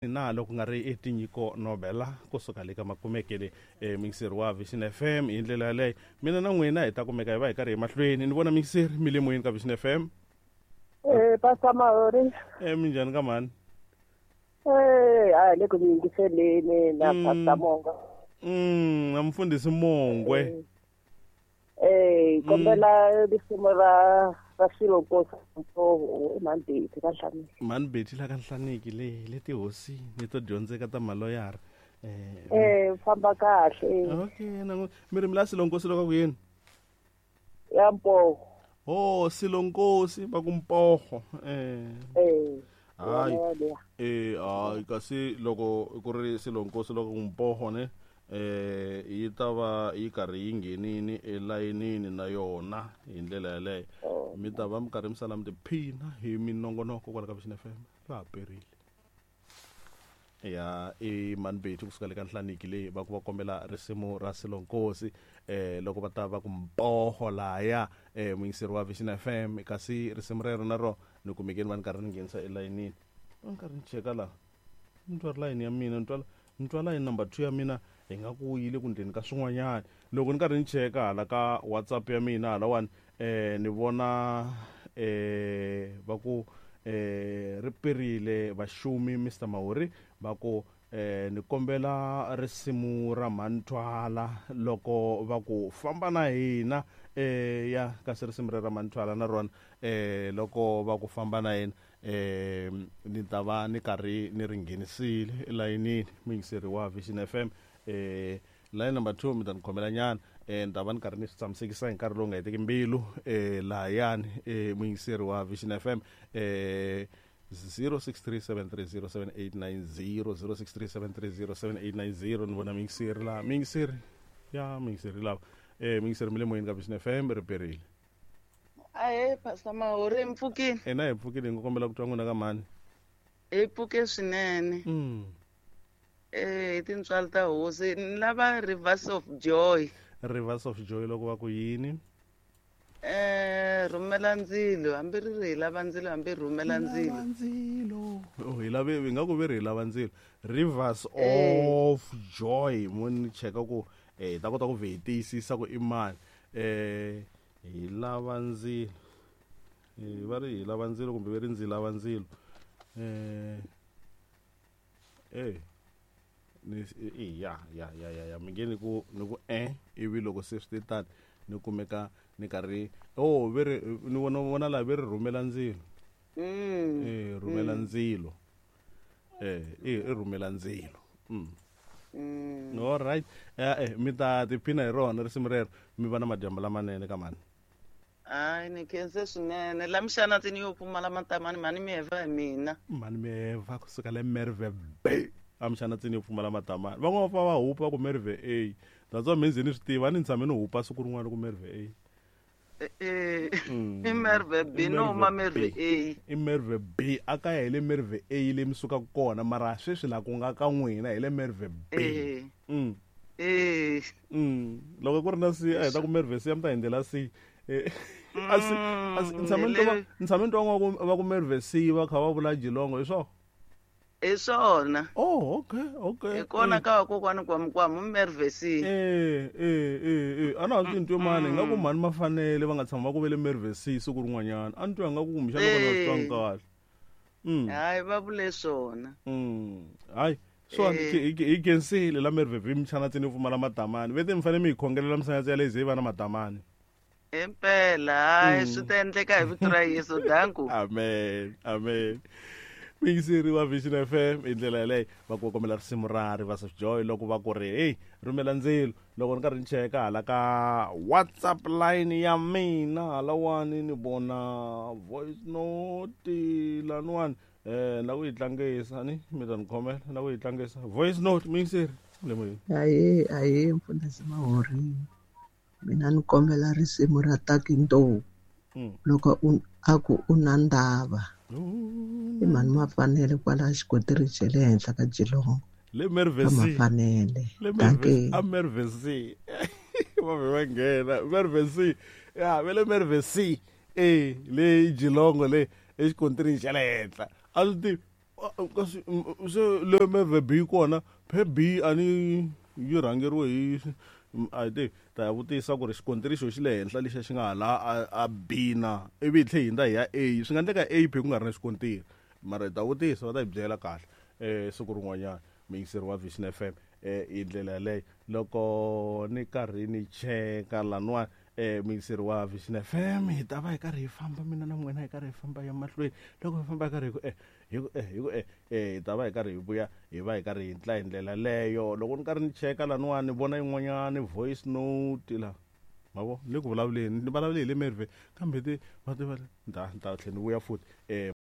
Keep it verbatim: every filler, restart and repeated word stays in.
Na loko nga ri i tinyiko Nobela kusuka le ka makumekele e mixer wa Vision F M hi ndlela yaleyo mina na n'wina hi ta kumeka hi va hi karhi emahlweni ni vona mixer mi le moyeni ka Vision F M. Eh Pastor Mahori. Eh minjhani ka mhani? Eh hayi le ku yingiseleni na Pastor Mongo. Mm na mfundhisi Mongwe. Eh kombela risimu ra ra Silonkosi Mpoho eMandeti ka Nhlaniki. Mandeti la ka Nhlaniki le le tihosini to dyondzeka ta maloyara. Eh eh famba kahle. Okay na mi ri mi la Silonkosi loko ku yini? Ya Mpoho. Oh Silonkosi va ku Mpoho. Eh. Eh. Hayi. Eh hayi kasi loko ku ri Silonkosi loko ku Mpoho ne eh yi ta va yi karhi yi nghenini elayinini na yona hi ndlela yaleyo mi ta va mi karhi mi sala mi tiphina hi minongonoko kwala ka Vision F M ra ha perile ya i Manbeti kusuka le ka Nhlaniki leyi va ku va kombela risimu ra Silonkosi eh loko va ta va ku Mpoho laya eh muyingiseri wa Vision F M kasi risimu rero na ro ni kumekeni va ni karhi ni nghenisa elayinini ni karhi ni cheka laha ni twa ri layini ya mina ni twa ni twa layini number two ya mina hi nga ku yile ku ndleni ka swin'wanyana loko ni karhi ni cheka hala ka WhatsApp ya mina halawani eh ni vona eh va ku eh ri perile vaxumi Mister Mahori va ku eh ni kombela risimu ra Manthwala loko va ku famba na hina eh ya kasi risimu ra Manthwala na rona eh loko va ku famba na hina eh ni ta va ni karhi ni ri nghenisile elayinini muyingiseri wa Vision F M eh line number two mi ta ni khomela nyana eh ni ta va ni karhi ni swi tshamisekisa hi nkarhi lowu nga heteki mbilu eh lahayani eh muyingiseri wa Vision F M eh zero six three seven three zero seven eight nine zero zero six three seven three zero seven eight nine zero ni vona muyingiseri laha muyingiseri ya muyingiseri lava eh muyingiseri mi le moyeni ka Vision F M ri perile. Ahe Pastor Mahori mi pfukile? Ina hi pfukile hi nga kombela ku twa n'wina ka mhani. Hi pfuke swinene. Mm. Eh tintswalo ta hosi ni lava Rivers of Joy. Rivers of Joy loko va ku yini? Eh rhumela ndzilo hambi ri ri hi lava ndzilo hambi rhumela ndzilo. Ndzilo. Oh hi lave hi nga ku ve ri hi lava ndzilo. Rivers of Joy mo ni cheka ku eh ta kota ku ve hi tiyisisa ku i mani. Eh hi lava ndzilo. Eh va ri hi lava ndzilo kumbe ve ri ndzi lava ndzilo. Eh eh ni ya ya ya ya ya mi nge ni ku ni ku eh ivi loko se swi tani ni kumeka ni karhi oh ve ri ni vona vona la ve ri rhumela ndzilo. Mm. Eh rhumela ndzilo. Eh i rhumela ndzilo. Mm. Mm. All right. Eh eh mi ta tiphina hi rona risimu rero mi va na madyambu lamanene ka mani. Hayi ni khense swinene la mixana yo pfumala matamani mani mi heva hi mina. Mani mi heva kusuka le Merve B. Amxana tsini yo pfumala matamani van'wana va va hupa ku Merve A. That's what means ni swi tiva ni tshame ni hupa siku rin'wana ku Merve A. Eh i Merve B no ma Merve A. I Merve B a kaya hi le Merve A le mi sukaka kona mara sweswi la ku nga ka n'wina hi le Merve B. Mm. Eh. Mm. Loko ku ri na C a hi ta ku Merve C mi ta hi ndlela C. Eh asi asi ni tshame ni twa ni tshame ni twa va ku Merve C va kha va vula Jilongo hi swona. Hi swona. Oh okay okay. Hi kona ka vakokwani kwa Mukwamu Merve C. Eh eh eh eh ana swi ntwe mani nga ku mhani mafanele va nga tshama va ku vele Merve C siku rin'wanyana a ni twa nga ku kumbexana loko va swi twangi kahle. Mm. Hayi va vule swona. Mm. Hayi so hi khensile la Merve B mchana tsini pfumala matamani vete mi fanele mi hi khongelela misanyatsi ya leyi ze yi va na matamani. Impela hayi swi ta endleka hi vito ra Yesu danku. Amen amen. Muyingiseri wa Vision F M hi ndlela yaleyo va ku kombela risimu ra Rivers of Joy loko va ku ri hey rhumela ndzilo loko ni karhi ni cheka hala ka WhatsApp line ya mina halawani ni vona voice note laniwani eh na ku yi tlangisa ni mi ta ni khomela na ku yi tlangisa voice note muyingiseri le moyeni. Ahe ahe mfundhisi Mahori mina ni kombela risimu ra Takinto loko a ku u na ndava. I mhani mafanele kwala xikontiri xa le henhla ka Jilongo. Le Merve C. Mafanele. Le Merve a Merve C. Va ve va nghena Merve C. Ya ve le Merve C. Eh le Jilongo le exikontirini xa le henhla. A swi tivi Kasi se le meve B kona phe B a ni yi rhangeriwe hi a hi tivi ta ya vutisa ku ri xikontiri xo xi le henhla lexiya xi nga hala a a B na ivi hi tlhe hi hundza hi ya A swi nga endleka A phe ku nga ri na xikontiri mara hi ta vutisa va ta hi byela kahle um siku rin'wanyana muyingiseri wa Vision F M um hi ndlela yaleyo loko ni karhi ni cheka laniwani um muyingiseri wa Vision F M hi ta va hi karhi hi famba mina na n'wina hi karhi hi famba ya mahlweni loko hi famba hi karhi hi ku eh hi ku eh hi ku eh eh hi ta va hi karhi hi vuya hi va hi karhi hi ntla hi ndlela leyo loko ni karhi ni cheka laniwani ni vona yin'wanyani voice note la ma vo ni le ku vulavuleni ni vulavule hi le Merve kambe ti va ti va ni ta ni ta tlhela ni vuya futhi um